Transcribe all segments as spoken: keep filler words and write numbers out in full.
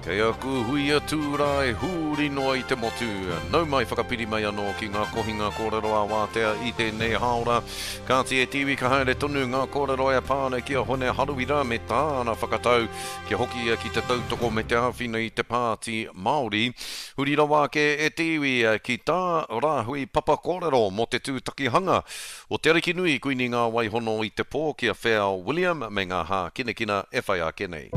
Kei aku huia tūrae huri noa i te motu. Nau mai whakapiri mai anō ki ngā kohinga kōrero ā-wātea i tēnei hāora. Kāti e te iwi ka haere tonu ngā kōrero e pā ana ki a Hone Harawira me tāna whakatau kia hoki ia ki te tautoko me te āwhina i te Pāti Māori. Huri rawa ake e te iwi ki tā Rāhui Papa kōrero mō te tūtakihanga o Te Arikinui Kuini Ngā Waihono i te pō ki a Wheao William me ngā hākinakina e whai ake nei.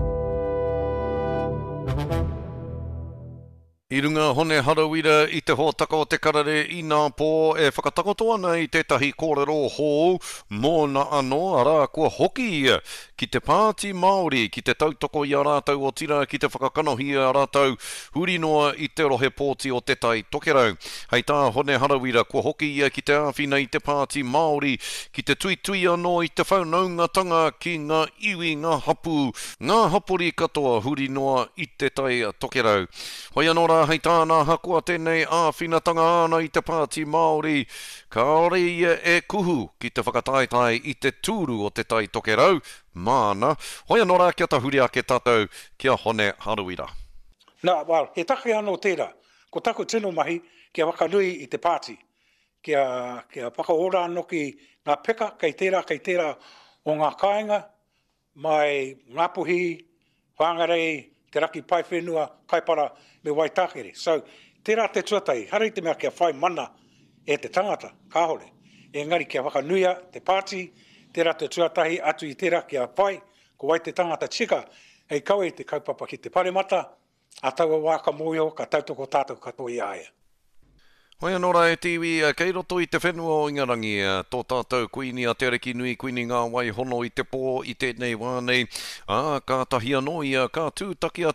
I runga Hone Harawira i te hōtaka o te karere inapō e whakatakoto ana i tētahi kōrero hou mōna anō, arā, kua hoki ia ki te Pāti Māori ki te tautoko i a rātou otirā ki te whakakanohi i a rātou huri noa i te rohe pōti o Te Tai Tokerau. Hei tā Hone Harawira, kua hoki ia ki te āwhina i te Pāti Māori ki te tuitui anō i te whanaungatanga ki ngā iwi, ngā hapū, ngā hapori katoa huri noa i Te Tai Tokerau. Hoi anō rā, hei tāna, ahakoa tēnei āwhinatanga āna i te Pāti Māori, kāore ia e kuhu ki te whakataetae i te tūru o Te Tai Tokerau, māna. Hoi anō rā, kia tahuri ake tātou ki a Hone Harawira. Nā, well, he take anō tērā. Ko taku tino mahi, kia whakanui i te pāti, kia, kia whakaora anō ki ngā peka kei tērā, kei tērā o ngā kāinga, mai Ngāpuhi, Whangarei, Te Raki Paewhenua, Kaipara me Waitākere. So, tērā te tuatahi, ehara i te mea kia whai mana e te tangata, kāore. Engari kia whakanuia te pāti, tērā te tuatahi atu i tērā kia whai, ko wai te tangata tika hei kawe i te kaupapa ki te paremata, ā taua wā ka mōhio, ka tautoko tātou katoa i a ia. Hoi anō rā e te iwi, kei roto i te whenua o Ingarangi, tō tātou Kuini a Te Arikinui Kuini Ngā Wai Hono i te pō i tēnei wā nei, ā, kātahi anō ia ka tūtaki atu